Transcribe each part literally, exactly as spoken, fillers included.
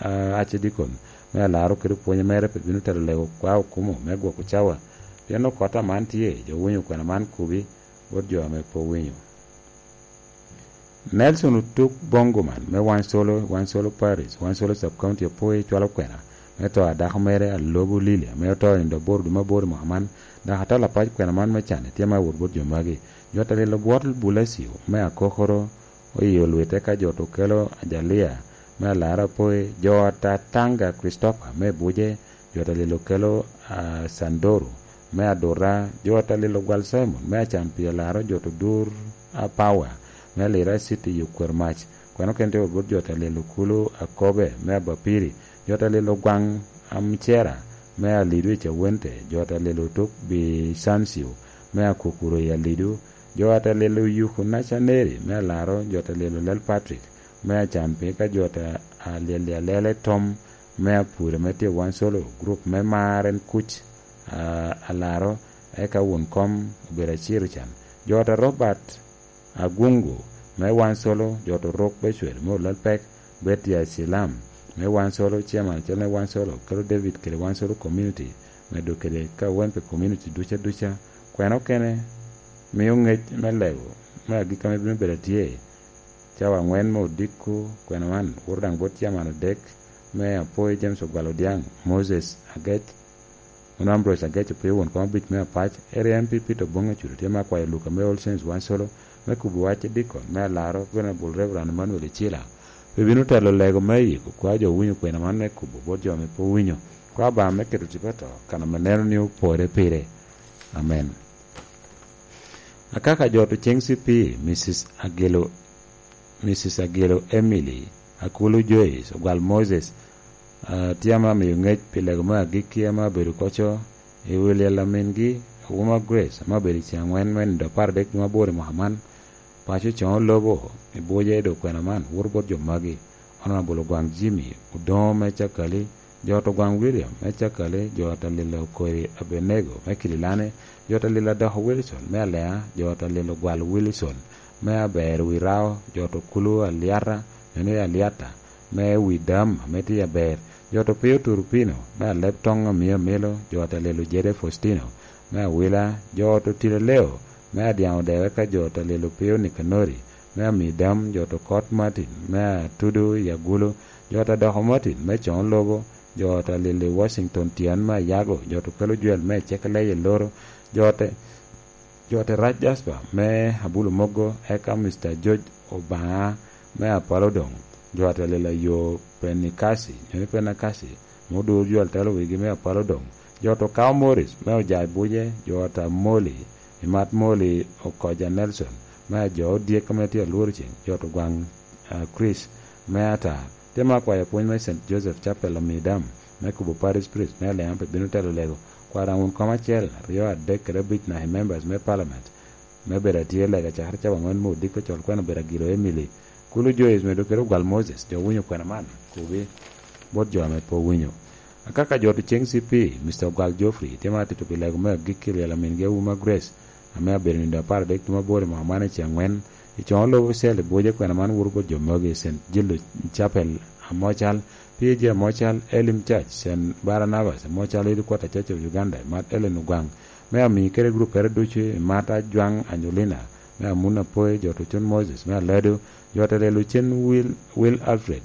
ah, Archdeacon me Alaro kede opwonye mere pe bino telo lego kwa okumo me gwoko cawa. Pien okot aman tye, jo winyo kwena man kubi, bot jo ame pe owinyo. Nelson Otuk Bongoman me Wansolo, Wansolo Parish, Wansolo Sub County opwoyo cwalo kwena me to a dako mere Alobo Lili ame oto i nindo aboro dwe me aboro i mwaka man, dok atol apac kwena man me can tye ma awot bot jo magi. Jo ta lilo bwot Bulasio me Akokoro oyo lwite ka jo to kelo Ajalia me Alara Apoi, jo ta Tanga Christopher me Buje, jo ta lilo kelo, ah, Sandoro me Adura, jo ta lilo gwal Simon me Acampi Alaro, jo to dur Apawa me Alira City i Okwer Mac. Kweno kene tye bot jo ta lilo kulu Akobe me Abapiri, jo ta lilo gwaŋ Amcera me Alidu i Cawente, jo ta lilo tuk Bisancio me Akukuro i Alidu, jo ta lilo Yuku Nacaneri me Alaro, jo ta lilo Lel Patrick me Acampi, ka jo ta alyel Alele Tom me Apure me tye Wan Solo, group me Mar en kuc, ah, Alaro, eka wun kom obedo aciro can. Jo ta Robert Agungu me Wan Solo, jo to ruk Becwel me Olal Pek, Betty Asilam me Wan Solo, chairman acel me Wan Solo, kelo David kede Wan Solo community, medo kede ka wen pe community duca duca. Kwena okene mio ngec me lego me agikki ame bino bedo atye cawa angwen me odiko. Kwena man woto daŋ bot chairman odek me Apoi James Ogwal Odiaŋ, Moses Agec, Mano Ambrose Agec opio won kom abic me Apac, area M P Peter Oboŋ Acudo tye me akwayo Luka me All Saints Wan Solo me kubo wacce dikon me Alaro, Venerable Reverend Emmanuel Icila, pe bino telo lego me yiko kwa jo winyo kwena man me kubo bot jo ame pe owinyo kwa bam me keto tipo to kan ame neno ni opore pire. Amen. Akaka jo to ceng C P, Missus Agelo, Missus Agelo Emily, Akulu Joyce, Ogwal Moses, ah, tye ame amiyo ngec pi lego me agikki ame abedo koco i wi lyel a mingi, Wuma Grace, ame obedo i ceng angwen me nindo apar adek dwe aboro i mwaka man. Paco Coŋo Lobo i Buje i dog kwena man, woto bot jo magi: Honorable Ogwaŋ Jimmy Odoŋo me Cakali, jo to Ogwaŋ William me Cakali, jo ta lilo Okori Abenego me Kidilani, jo ta lilo Adoko Wilson me Alea, jo ta lilo Gwal Wilson me Aber Wirao, jo to Kulu Aliata, nyono i Aliata, me wi dam ame tye aber, jo to Pio Turupino me Aleb Toŋ Amiyo Amilo, jo ta lilo Jede Faustino me Awila, jo to Tilo Leo me Adyaŋ Odewe, ka jo ta lilo Pio Nikanori me Amidam, jo to Kot Martin me Atudo i Agulu, jo ta Doko Martin me Coŋ Lobo, jo ta lilo Washington Tian me Ayago, jo to Kelo Jwel me Ecekele i Loro, jo te jo te Rac Jasper me Abulu Mogo, eka Mister George Obaŋa me Apalo Doŋ, jo atelelo yo Penikasi, nyono Penakasi, me odur jo atelo wigi me Apalo Doŋ, jo to Kao Morris me Ojai Buje, jo ta Moli, i mat Moli Okoja Nelson, me ajo odyek ame tye alworo ceng, jo to Gwaŋ, ah, Chris me Atar, tye me akwayo pwony me Saint Joseph Chapel Amidam, me kubo Parish Priest me Alea pe bino telo lego, kwara wun kom acel, aryo, adek, kede abic naka i members me parliament, me bedo atye lega cakere cawa angwen me odiko col kwena obedo Agilo Emily, Kulu Joyce medo kede Ogwal Moses, jo winyo kwena man, kubi bot jo ame pe owinyo. Akaka jo to ceng C P, Mister Ogwal Geoffrey, tye ma atito pi lego me agikki i lyel a mingi Auma Grace, ame abedo nindo apar adek dwe aboro i mwaka man i ceng angwen, i Coŋo Lobo Cell i Buje. Kwena man woto bot jo magi: Saint Gildo Chapel Amocal, P A G Amocal, Elim Church, Saint Barnabas Amocal, Headquarter Church of Uganda, Mat Ellen Ogwaŋ, me ami kede gruppere ducu, i Mat Ajwaŋ Anyolina, me Amun Apoi, jo to Cun Moses me Aledo, jo te lelo cen Will, Will Alfred,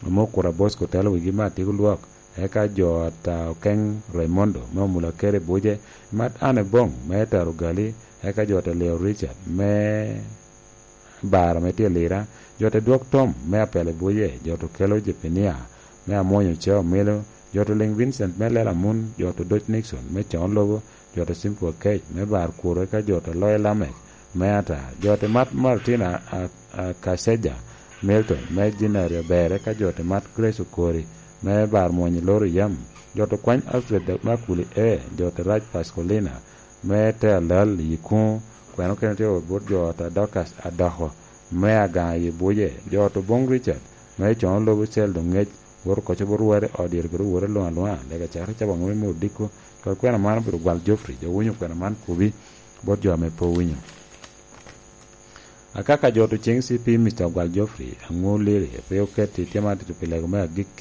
ame Okura Bosco telo wigi me Atiko Lwok, eka jo ta Okeŋ Raimondo me Omula Kere Buje, Mat Anne Boŋ me Taro Gali, eka jo ta Leo Richard me Bar ame tye Lira, jo ta Dwok Tom me Apele Buje, jo ta Okelo Jepinia me Amwonyo Ceo Milo, jo ta Liŋ Vincent me Lela Mun, jo ta Doc Nixon me Coŋo Lobo, jo ta Simple Kec me Bar Kuro, eka jo ta Loye Lamek me Ata, jo ta Mat Martina a, a Kaseja Milton me Jinari Aber, eka jo ta Mat Grace Okori me Bar Mwonyo Loro Yam, jo ta Kwany Alfred Makuli E, jo ta Rac Pascolina me te alal i kuŋo, kweno kene tye wot bot jo ta Dorcas Adoko me Agaŋa i Buje, jo ta Oboŋ Richard me Coŋo Lobo Cel doŋ ŋec, woto koco bot wore ot dyere kede wore luŋ aluŋa, lega cakere cawa aŋwen me odiko, kod kwena man obedo Gwal Geoffrey, jo winyo kwena man kubi bot jo ame pe owinyo. Akaka jo to ceng C P Mister Gwal Geoffrey, aŋo liri, pe oketi tye ma atito pi lego me agikki,